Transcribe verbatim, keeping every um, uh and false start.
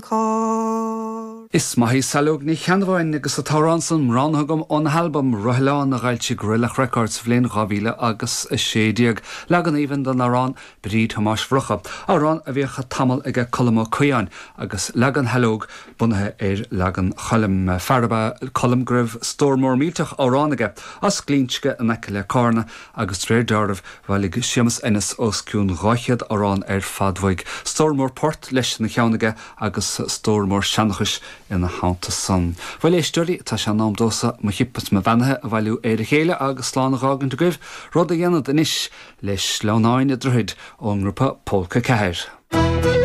Carr. Is maith í Saileog Ní Cheannabháin agus an t-amhrán san roghnaithe agam óna halbam Roithleán a d'fhoilsigh Greallach Records sa bhliain dhá mhíle agus a sé déag. Leagan aoibhinn den amhrán Bríd Thomáis Mhurchadh, amhrán a bhíodh tamall aige Colm Ó Caodháin agus leagan Shaileog bunaithe ar leagan Choilm. Fear ab ea Colm go raibh stór mór millteach amhrán aige as Glinsce in aice le Carna agus de réir dealraimh bhailigh Séamus Ennis os cionn dhá chéad amhrán ar fad uaidh. Stór mór port leis ina cheann aige agus stór mór seanchais ina theannta san. Bhuel a éisteoirí, tá sé in am domhsa mo chip is mo bheannaithe a bhailiú ar a chéile agus slán a dh'fhágaint agaibh, rud a dhéanfad anois le Sleamhnáin an Droichid ón ngrúpa Pólca Ceathair.